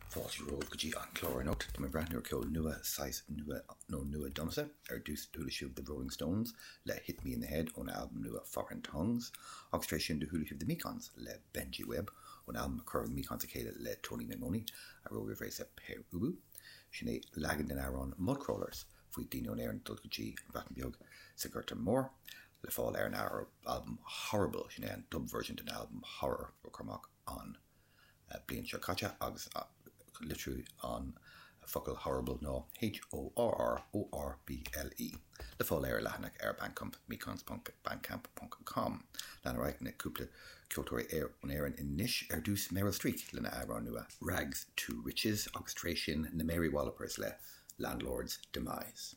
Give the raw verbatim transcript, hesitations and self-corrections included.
Fáilte romhaibh go dtí an clár anocht. Tá mé ag breathnú ar ceol nua, saghas nua nó nua domsa. Ar dtús do chuala sibh The Rolling Stones le Hit Me in the Head ón albam nua Foreign Tongues, agus tar éis sin do chuala sibh The Mekons le Benji Webb ón albam a chuir The Mekons le chéile le Tony Maimone a raibh roimh ré sa Pere Ubu. Sin é leagan den amhrán Mudcrawlers faoi daoine ón Éirinn dul go dtí an Bhreatain Bheag sa Ghorta Mór le fáil ar an albam Horrible sin é an dub version den albam Horror ó cuireadh amach an bliain seo caite agus litriú an focal horrible ná H O R R O R B L E. Le fáil ar leathanach ar Bandcamp mekons.bandcamp.com. Lean ar aghaidh na cúpla ceoltóirí ar ón Éirinn anois ar dtús Meryl Streak lena amhrán nua Rags to Riches agus tar éis sin na Mary Wallopers le Landlord's Demise.